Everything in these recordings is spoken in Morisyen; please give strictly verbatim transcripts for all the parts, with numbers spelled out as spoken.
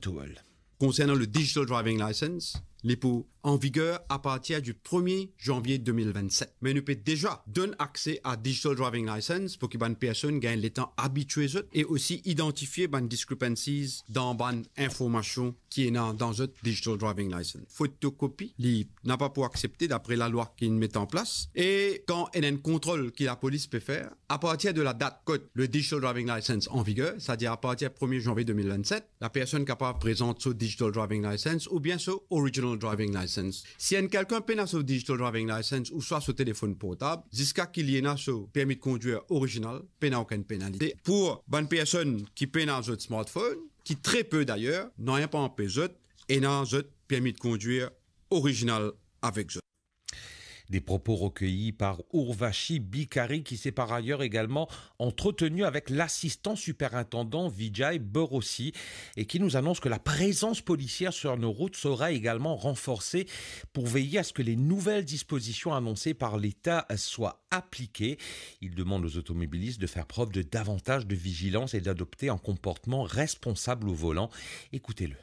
Tool. Konsernan le digital driving license, li pou an viger apartir di premie zanvie de mil vennset. Me nou pe deza donn akse a digital driving license pou ki bann personn gagn letan abitie zot e osi idantifie bann discrepancies dan bann informasion ki ena dan zot digital driving license. Fotokopi, li napa pou aksepte dapre lalwa ki met an plas. E kan ena enn kontrol ki lapolis pe fer, apartir de la dat kot le digital driving license an viger, setadir apartir premie zanvie de mil vennset, la personn kapav prezant so digital driving license oubien so original driving license. Si enn kelkenn pena so digital driving license ouswa so telefonn portab, ziska ki li ena so permi de kondwir original, pena okenn penalite. Pou bann personn ki pena zot smartphone, ki tre pe dayer, nanye pa anpes zot ena zot permi de kondwir original avek zot. Des propos recueillis par Urvashi Bikari, qui s'est par ailleurs également entretenu avec l'assistant superintendant Vijay Borossi et qui nous annonce que la présence policière sur nos routes sera également renforcée pour veiller à ce que les nouvelles dispositions annoncées par l'État soient appliquées. Il demande aux automobilistes de faire preuve de davantage de vigilance et d'adopter un comportement responsable au volant. Écoutez-le.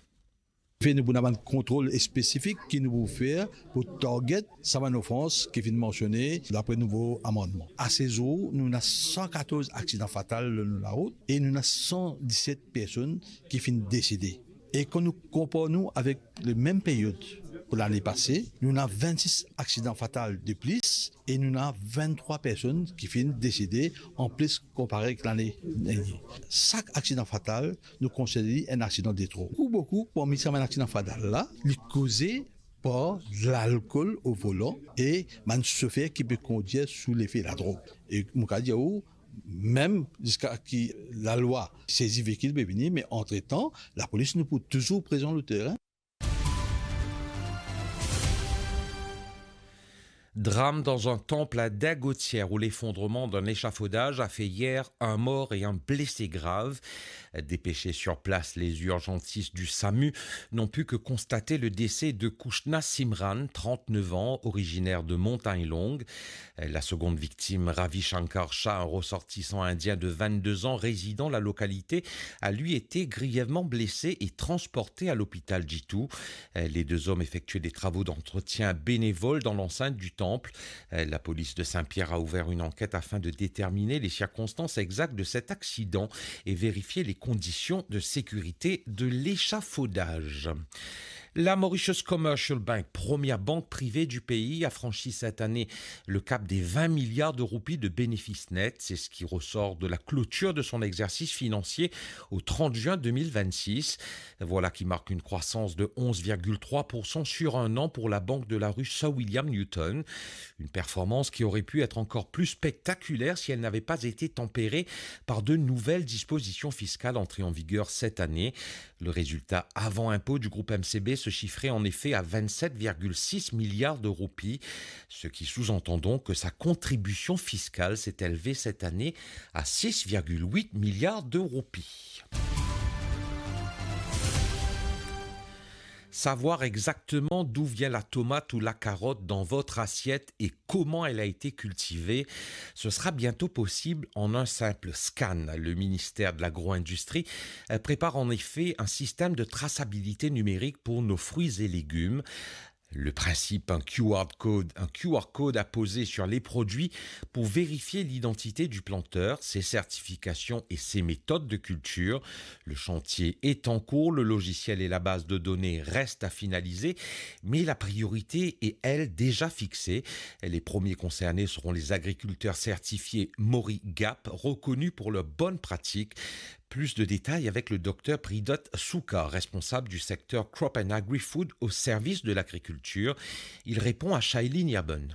Fe nou pou ena bann kontrol spesifik ki nou pou fer pou target sa bann ofans ki finn mansione dapre nouvo amannman. Asezour, nou ena san katorz aksidan fatal lor nou larout e nou ena san diset personn ki finn desede. E kan nou konpar nou avek lemem period pou lane pase, nou ena vennsis aksidan fatal de plis e nou ena venntrwa personn ki finn desede anplis konpare ek lane dernie. Sak aksidan fatal, nou konsider li enn aksidan de tro. Boukou, boukou parmi sa bann aksidan fatal la, li koze par lalkol o volan e bann sofer ki pe kondwir sou lefe ladrog. E mo kapav dir ou, mem ziska ki lalwa sezi veikil pe vini, me antretan, lapolis nou pou touzour prezan lor terin. Drame dans un temple à Dagotière où l'effondrement d'un échafaudage a fait hier un mort et un blessé grave. Dépêchés sur place, les urgentistes du samu n'ont pu que constater le décès de Kushna Simran, trente-neuf ans, originaire de Montagne Longue. La seconde victime, Ravi Shankar Shah, un ressortissant indien de vingt-deux ans, résidant la localité, a lui été grièvement blessé et transporté à l'hôpital Jitu. Les deux hommes effectuaient des travaux d'entretien bénévole dans l'enceinte du temple. La police de Saint-Pierre a ouvert une enquête afin de déterminer les circonstances exactes de cet accident et vérifier les conditions de sécurité de l'échafaudage. La Mauritius Commercial Bank, première banque privée du pays, a franchi cette année le cap des vingt milliards de roupies de bénéfices nets. C'est ce qui ressort de la clôture de son exercice financier au trente juin deux mille vingt-six. Voilà qui marque une croissance de onze virgule trois pour cent sur un an pour la banque de la rue Sir William Newton. Une performance qui aurait pu être encore plus spectaculaire si elle n'avait pas été tempérée par de nouvelles dispositions fiscales entrées en vigueur cette année. Le résultat avant impôt du groupe M C B se chiffrait en effet à vingt-sept virgule six milliards de roupies, ce qui sous-entend donc que sa contribution fiscale s'est élevée cette année à six virgule huit milliards de roupies. Savoir exactement d'où vient la tomate ou la carotte dans votre assiette et comment elle a été cultivée, ce sera bientôt possible en un simple scan. Le ministère de l'Agro-industrie, euh, prépare en effet un système de traçabilité numérique pour nos fruits et légumes. Le principe, un Q R code, un Q R code à poser sur les produits pour vérifier l'identité du planteur, ses certifications et ses méthodes de culture. Le chantier est en cours, le logiciel et la base de données restent à finaliser, mais la priorité est, elle, déjà fixée. Les premiers concernés seront les agriculteurs certifiés Mori gap, reconnus pour leurs bonnes pratiques. Plus de détails avec le docteur Pridot Souka, responsable du secteur Crop and Agri-Food au service de l'agriculture. Il répond à Shailene Yaban.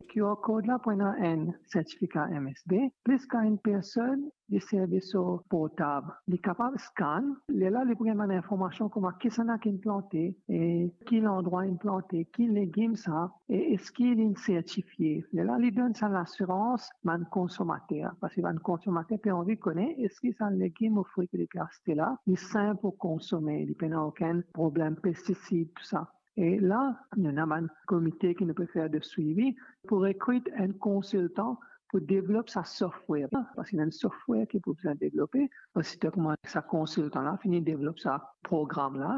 Q R code la pou ena enn sertifika M S B, plis kan enn personn li servi so portab, li kapav scan, lerla li pou gagn bann informasion kouma kisannla ki inn plante, e ki landrwa inn plante, ki legim sa, e eski li inn sertifie. Lerla li donn sa lasirans bann konsomater, parski bann konsomater pe anvi kone eski sa legim ou fri ki li pe aste la, li sin pou konsome, li pena okenn problem pestisid, tou sa. E la, nou ena bann komite ki nou pe fer de swivi pou rekrit enn konsiltan pou devlop sa software la, parski ena enn software ki pou bizin devlope. Osito kouma sa konsiltan la fini devlop sa program la,